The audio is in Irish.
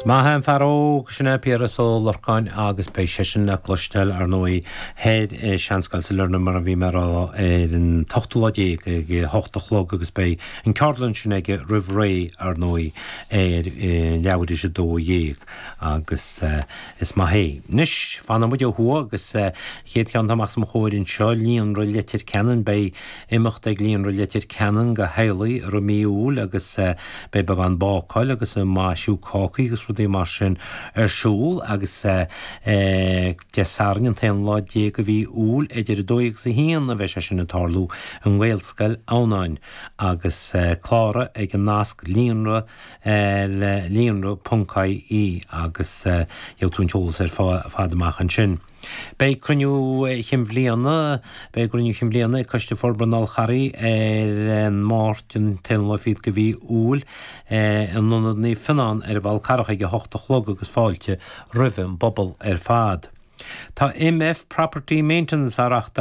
Is maith é an fear óg sin é Piaras Ó Lorcáin agus beidh seisean le cloisteáil, ar ndóigh, thoir i Seanscoil Sailearna mar a bhí mé a rá ar an t-ochtú lá déag ag a hocht a chlog agus beidh an ceardlann sin aige roimh ré, ar ndóigh, ar leathuair tar éis a 12 agus is maith é. Anois, fanfaidh muid ó thuaidh agus chéad cheann atá amach os mo chomhair anseo, Líonra Leitir Ceanainn, beidh imeacht ag Líonra Leitir Ceanainn do theaghlaigh i rith mí Iúil agus beidh beagán bácáil agus maisiú cácaí agus rudaí mar sin ar siúl agus Dé Sathairn an t-aon lá déag de mhí Iúil idir 2 agus 1 a bheidh sé sin ag tarlú i nGaelscoil Adhamhnáin agus cláraigh ag an nasc líonra le líonra.ie agus gheobhaidh tú an t-eolas ar fad amach ansin. Beidh cruinniú chinn bhliana Beidh cruinniú chinn bhliana ag Coiste Forbartha an Fhál Charraigh ar an Máirt an t-aonú lá fichead de mhí Iúil in Ionad Naomh Fionnán ar an bhFál Carrach ag 8 a chlog agus fáilte roimh an bpobal ar fad. Tá MF Property Maintenance á reachtáil.